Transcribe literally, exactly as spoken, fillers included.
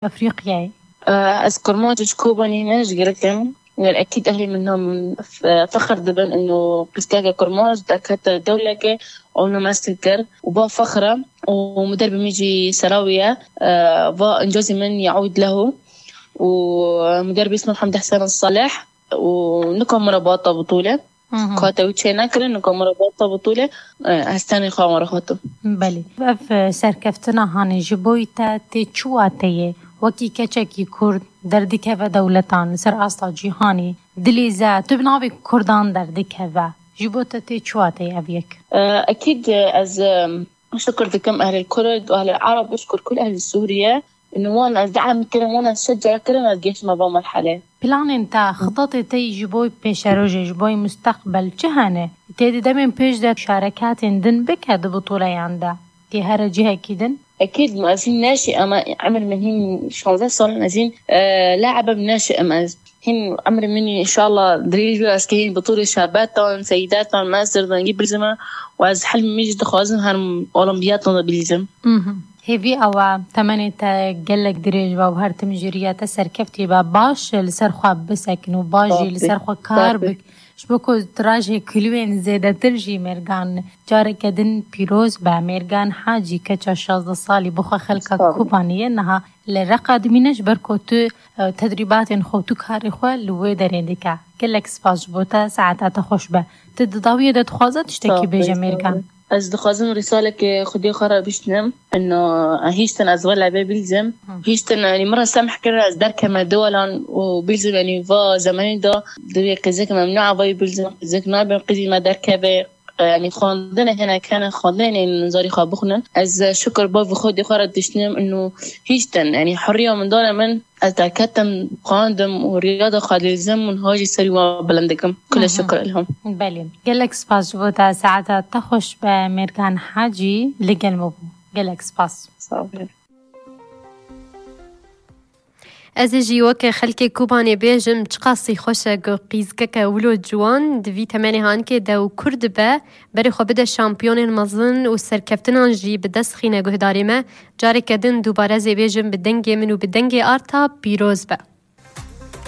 Efrîqyayê. Ez Kurmanc ji Kobanî ne, ji Girik im. Wer ekîd ehlî min nam f-, fexir dibin ino qîzkeke Kurmanc derkete dewleke û namestin kir û ba fexir e û muder bi min jî serawiye. Va incazî min yaûd lehu û muder bi ismin Hemd Hesen Salih û nika min re bata bitûle. Kate wî çê nekirin, nika min re bata bitûle. Ez tenê xwe wan re xwetim. Belê. Ev, e, serkeftina hanê ji bo te tê çi wateyê? Wekî keçekî Kurd derdikeve dewletan li ser asta cîhanê, dilê ze, tu bi navê Kurdan derdikeve. Ji bo te tê çi wateyê ev yek? E, ekîd, e, ez, e, şikir dikim ehlê Kurd, ehlê Ereb, şikir kul ehlê Sûriye. Ino wan ez de'em kirin, wan ez şeca kirin, ez gehiştime va merhele. Planên te, xitatê te yî ji bo pêşerojê, ji bo mustaqbel çi hene? Tê di demên pêş de şarekatên din bike di bitoleyan de. Tê here cihekî din? Ekîd, ma ez hîn neşî, ama emir min hîn şanzeh sal in, ez hîn, e, laibim neşi em ez. Hîn emir min înşallah dirêj be, ez kê hîn bi tûrê şabetan, seyidetan, mesir dengî bizime û ez hilm min jî dixwazim her olimpiyatan de bilîzim. Mhm. Hêvî ew e, temenê te gelek dirêj be û her tim ji riya te serkeftî be. Baş li ser xwe bisekin û baş jî li ser xwe kar bik. Ji bo ku tirajê kuliyên zêdetir jî mêrgan careke din pîroz be. Mêrgan Hacî, keça şazdeh salî, bi xwe xelka Kobaniyê niha li Reqa dimîne, ji ber ku tu, e, tedrîbatên xwe, tu karê xwe li wê derê dike. Gelek spas ji bo te, saeta te xweş be. Tu di dawiyê de dixwaze tiştekî bêje mêrgan? Ez dixwazim rîsaleke xwedî xwe re biştinim. Ino, hîştin ez wele bê bilzim. Hîştin, yanî, min re semh kirin, ez derkeme diwelan û bilzim, yanî, va zemenî de divê qîzek memnû avayî bilzim, qîzek nabim qîzî me derkeve. E, yanî, xwendinê hinek hene, xwendinê nizarî xwe bixwinin. Ez, e, şikir bavê xwedî xwe re diştinim, ino, hîştin, yanî, hiriya min dane min, ez derketim, xwendim û riya de xwe dilizim û niha jî serî wan bilind dikim. Kule şikir, elham. Belê. Gelek spas ji bo te, saeta te xweş be, Mêrgan Hacî li gel me bû. Gelek spas. Sağ ol. Ez ê jî weke xelkê Kobanê bêjim, çiqasî xweş e ku qîzkeke wilo ciwan di vî temenê hanikê de û Kurd be, berê xwe bide şampiyonên mezin û serkeftinan jî bi dest xîne guhdarê me. Careke din dubare ez ê bêjim, bi dengê min û bi dengê Arta pîroz be.